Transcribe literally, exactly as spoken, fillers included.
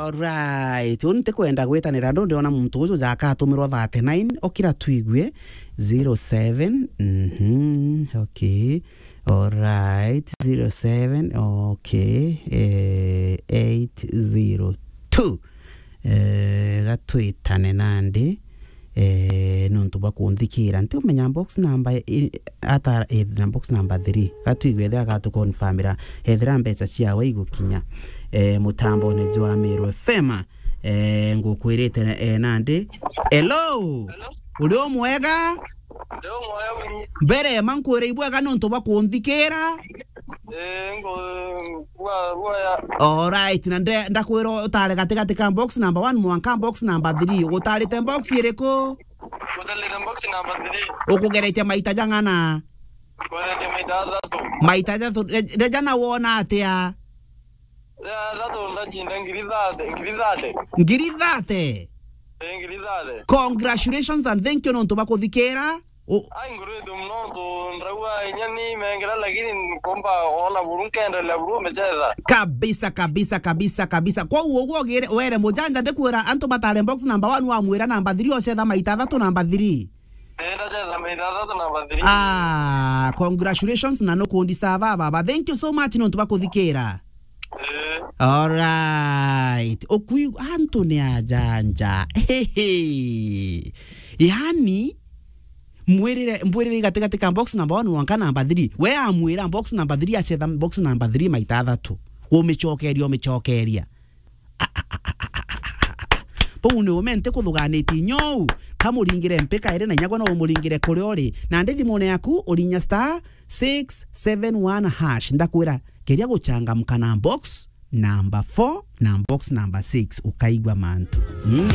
Alright, uni ntikwenda gwitanira ndu ndiona muntu uju jaka atumirwa thirty-nine, okira twigue zero seven, mhm, okay, alright, zero seven, okay, eh, eight zero two. Eh, gatwitane nandi, eh, nontu bwa kunthikira. Ntiumenya box number i-, ata, eh, na box number three. Gatwigwe ethira agatukonfamira, ethira mbeca ciawe igukinya, eh, mutambone jwa Meru F M. Eh, ngukwirite, eh, nandi. Hello? Hello? Uri o mwega? Ndi o mwega buru. Mbere, ma nkwire ibwega nontu bwa kunthikira. Eh, ngo-, gwa-, gwaya. Alright, na nde-, ndakwira utare gatigati ka box number one mwanka box number three. Utarite box iriku? Utarite box number three. Ukugeretie maita jang'ana? Kugeretie maita athatu. Maita athatu. Re-, reja na wona atia? Ria athatu ndachinda ngiri thate, ngiri thate. Ngiri thate? Eh, ngiri thate. Congratulations and thank you nontu bwa kuthikira. U- Ai, ngurite muno tu ndraua inya ni mengera, lakini nkomba ona buru nkendelea buru umechetha. Kabisa, kabisa, kabisa, kabisa. Kwa uguo ugire were mujanja ndikwira antu batare box number one wamwira number three ochetha maita athatu number three. Eh, ndachetha maita athatu number three. Ah, congratulations na nukundi sawa baba. Thank you so much nontu bwa kuthikira. Eh. Alright. Ukui antu ni ajanja. Hehe. Yani, mwirire, mbwirire gatigati ka box number one mwanka number three. We amwira box number three achetha box number three maita athatu. Umicokeria, umicokeria. Bau ni ume ntikuthuganitie nyou. Kamuringire mpika iri na inyagwa no umuringire kuria uri. Na ndi thimune yaku urinya star six seven one hash. Ndakwira, keria guchangamka na box number four na box number six, ukaigua mantu. Mm.